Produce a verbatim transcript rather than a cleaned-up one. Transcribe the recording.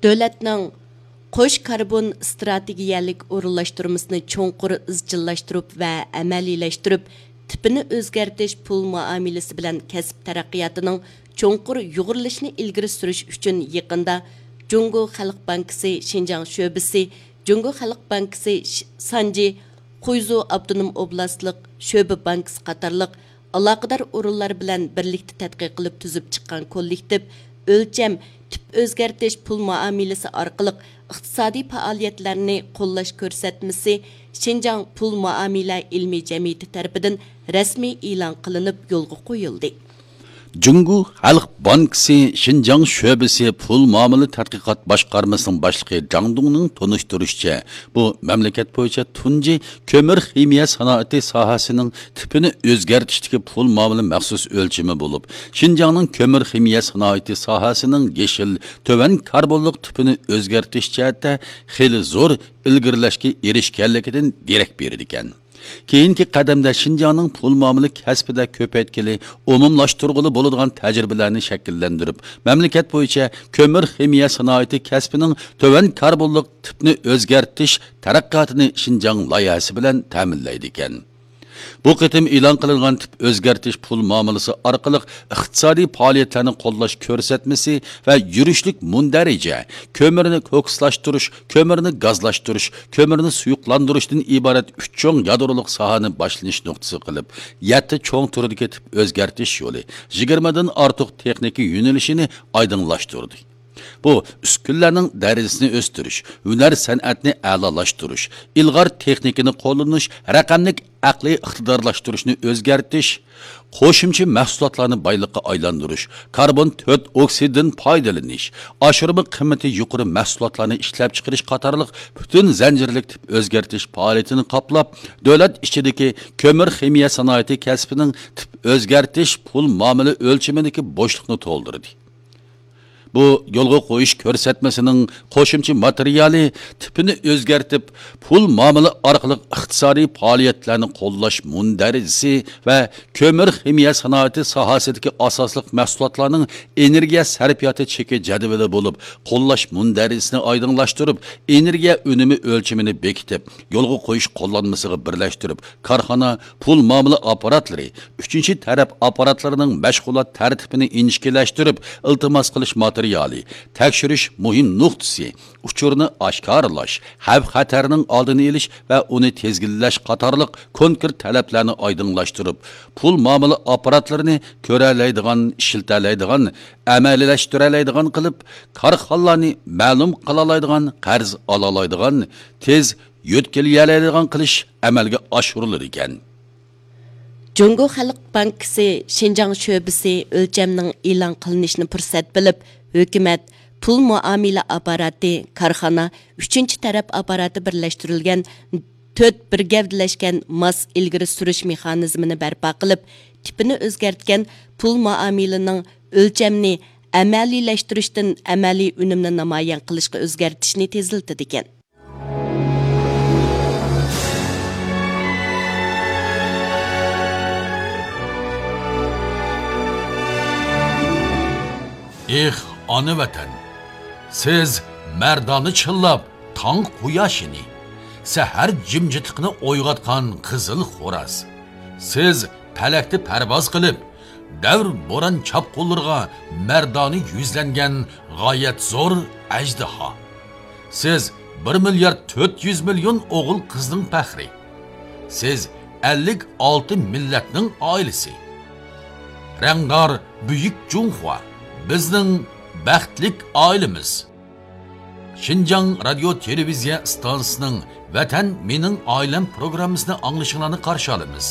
دۆلەتنىڭ قوش كاربون ئىستراتېگىيەلىك ئورۇنلاشتۇرمىسىنى چوڭقۇر ئىزچىللاشتۇرۇپ ۋە ئەمەلىيلەشتۈرۈپ، تىپىنى ئۆزگەرتىش پۇل مۇئامىلىسى بىلەن كەسىپ تەرەققىياتىنىڭ چوڭقۇر يۇغۇرۇلۇشىنى ئىلگىرى سۈرۈش ئۈچۈن، يېقىندا جۇڭگو خەلق بانكىسى شىنجاڭ شۆبىسى، جۇڭگو خەلق بانكىسى ش-، سانجى خۇيزۇ ئاپتونوم ئوبلاستلىق شۆبە بانكىسى قاتارلىق ئالاقىدار ئورۇنلار بىلەن بىرلىكتە تەتقىق قىلىپ تۈزۈپ چىققان كوللېكتىپ ئۆلچەم تىپ ئۆزگەرتىش پۇل مۇئامىلىسى ئارقىلىق ئىقتىسادىي پائالىيەتلەرنى قوللاش كۆرسەتمىسى شىنجاڭ پۇل مۇئامىلە ئىلمىي جەمئىيىتى تەرىپىدىن رەسمىي ئېلان قىلىنىپ يولغا قويۇلدى. جۇڭگو خەلق بانكىسى شىنجاڭ شۆبىسى پۇل مۇئامىلە تەتقىقات باشقارمىسىنىڭ باشلىقى جاڭ دۇڭنىڭ تونۇشتۇرۇشىچە، بۇ مەملىكەت بويىچە تۇنجى كۆمۈر خىمىيە سانائىتى ساھەسىنىڭ تىپىنى ئۆزگەرتىشتىكى پۇل مۇئامىلە مەخسۇس ئۆلچىمى بولۇپ، شىنجاڭنىڭ كۆمۈر خىمىيە سانائىتى ساھەسىنىڭ يېشىل، تۆۋەن كاربونلۇق تىپىنى ئۆزگەرتىش جەھەتتە خېلى زور ئىلگىرىلەشكە ئېرىشكەنلىكىدىن دېرەك بېرىدىكەن. كېيىنكى قەدەمدە شىنجاڭنىڭ پۇل مۇئامىلە كەسپىدە كۆپەيتكىلى ئومۇملاشتۇرغىلى بولىدىغان تەجرىبىلەرنى شەكىللەندۈرۈپ، مەملىكەت بويىچە كۆمۈر خىمىيە سانائىتى كەسپىنىڭ تۆۋەن كاربونلۇق تىپنى ئۆزگەرتىش تەرەققىياتىنى شىنجاڭ لايىھەسى بىلەن تەمىنلەيدىكەن. بۇ قېتىم ئېلان قىلىنغان تىپ ئۆزگەرتىش پۇل مۇئامىلىسى ئارقىلىق ئىقتىسادىي پائالىيەتلەرنى قوللاش كۆرسەتمىسى ۋە يۈرۈشلۈك مۇندەرىجە، كۆمۈرنى كوكسلاشتۇرۇش، كۆمۈرنى گازلاشتۇرۇش، كۆمۈرنى سۇيۇقلاندۇرۇشتىن ئىبارەت ئۈچ چوڭ يادرولۇق ساھەنى باشلىنىش نۇقتىسى قىلىپ، يەتتە چوڭ تۈردىكى تىپ ئۆزگەرتىش يولى، يىگىرمىدىن ئارتۇق تېخنىكا يۆنىلىشىنى ئايدىڭلاشتۇردى. بۇ ئۈسكۈنىلەرنىڭ دەرىجىسىنى ئۆستۈرۈش، ھۈنەر سەنئەتنى ئەلالاشتۇرۇش، ئىلغار تېخنىكىنى قوللىنىش، رەقەملىك ئەقلىي ئىقتىدارلاشتۇرۇشنى ئۆزگەرتىش، قوشۇمچە مەھسۇلاتلارنى بايلىققا ئايلاندۇرۇش، كاربون تۆت ئوكسىدىدىن پايدىلىنىش، ئاشۇرما قىممىتى يۇقىرى مەھسۇلاتلارنى ئىشلەپچىقىرىش قاتارلىق پۈتۈن زەنجىرلىك تىپ ئۆزگەرتىش پائالىيىتىنى قاپلاپ، دۆلەت ئىچىدىكى كۆمۈر خىمىيە سانائىتى كەسپىنىڭ تىپ ئۆزگەرتىش پۇل مۇئامىلە ئۆلچىمىدىكى بوشلۇقنى تولدۇردى. بۇ يولغا قويۇش كۆرسەتمىسىنىڭ قوشۇمچە ماتېرىيالى تىپىنى ئۆزگەرتىپ، پۇل مۇئامىلە ئارقىلىق ئىقتىسادىي پائالىيەتلەرنى قوللاش مۇندەرىجىسى ۋە كۆمۈر خىمىيە سانائىتى ساھەسىدىكى ئاساسلىق مەھسۇلاتلارنىڭ ئېنېرگىيە سەرپىياتى چېكى جەدۋىلى بولۇپ، قوللاش مۇندەرىجىسىنى ئايدىڭلاشتۇرۇپ، ئېنېرگىيە ئۈنۈمى ئۆلچىمىنى بېكىتىپ، يولغا قويۇش قوللانمىسىغا بىرلەشتۈرۈپ، كارخانا، پۇل مۇئامىلە ئاپپاراتلىرى، ئۈچىنچى تەرەپ ئاپپاراتلىرىنىڭ مەشغۇلات تەرتىپىنى ئىنچىكىلەشتۈرۈپ، ئىلتىماس قىلىش ماتېرىيالى، تەكشۈرۈش مۇھىم نۇقتىسى، ئۇچۇرنى ئاشكارىلاش، خەۋپ-خەتەرنىڭ ئالدىنى ئېلىش ۋە ئۇنى تىزگىنلەش قاتارلىق كونكرېت تەلەپلەرنى ئايدىڭلاشتۇرۇپ، پۇل مۇئامىلە ئاپپاراتلىرىنى كۆرەلەيدىغان، ئىشلىتەلەيدىغان، ئەمەلىيلەشتۈرەلەيدىغان قىلىپ، كارخانىلارنى مەلۇم قىلالايدىغان، قەرز ئالالايدىغان، تېز يۆتكىلىيەلەيدىغان قىلىش ئەمەلگە ئاشۇرۇلىدىكەن. جۇڭگو خەلق بانكىسى شىنجاڭ شۆبىسى ئۆلچەمنىڭ ئېلان قىلىنىشىنى پۇرسەت بىلىپ، ھۆكۈمەت، پۇل مۇئامىلە ئاپپاراتى، كارخانا، ئۈچىنچى تەرەپ ئاپپاراتى بىرلەشتۈرۈلگەن تۆت بىر گەۋدىلەشكەن ماس ئىلگىرى سۈرۈش مېخانىزمىنى بەرپا قىلىپ، تىپىنى ئۆزگەرتكەن پۇل مۇئامىلىنىڭ ئۆلچەمنى ئەمەلىيلەشتۈرۈشتىن ئەمەلىي ئۈنۈمنى نامايان قىلىشقا ئۆزگەرتىشنى تېزلىتىدىكەن. ئېھ، ئانا ۋەتەن! سىز مەردانە چىللاپ تاڭ قۇياشىنى، سەھەر جىمجىتلىقىنى ئويغاتقان قىزىل خوراز. سىز پەلەكتە پەرۋاز قىلىپ، دەۋر بوران چاپقۇنلىرىغا مەردانە يۈزلەنگەن غايەت زور ئەجدىھا. سىز بىر مىليارد تۆت يۈز مىليون ئوغۇل قىزنىڭ پەخرى. سىز ئەللىك ئالتە مىللەتنىڭ ئائىلىسى. رەڭدار بۈيۈك جۇڭخۇا، بىزنىڭ بەختلىك ئائىلىمىز. شىنجاڭ رادىيو تېلېۋىزىيە ئىستانسىسىنىڭ ۋەتەن مېنىڭ ئائىلەم پروگراممىسىنى ئاڭلىشىڭلارنى قارشى ئالىمىز.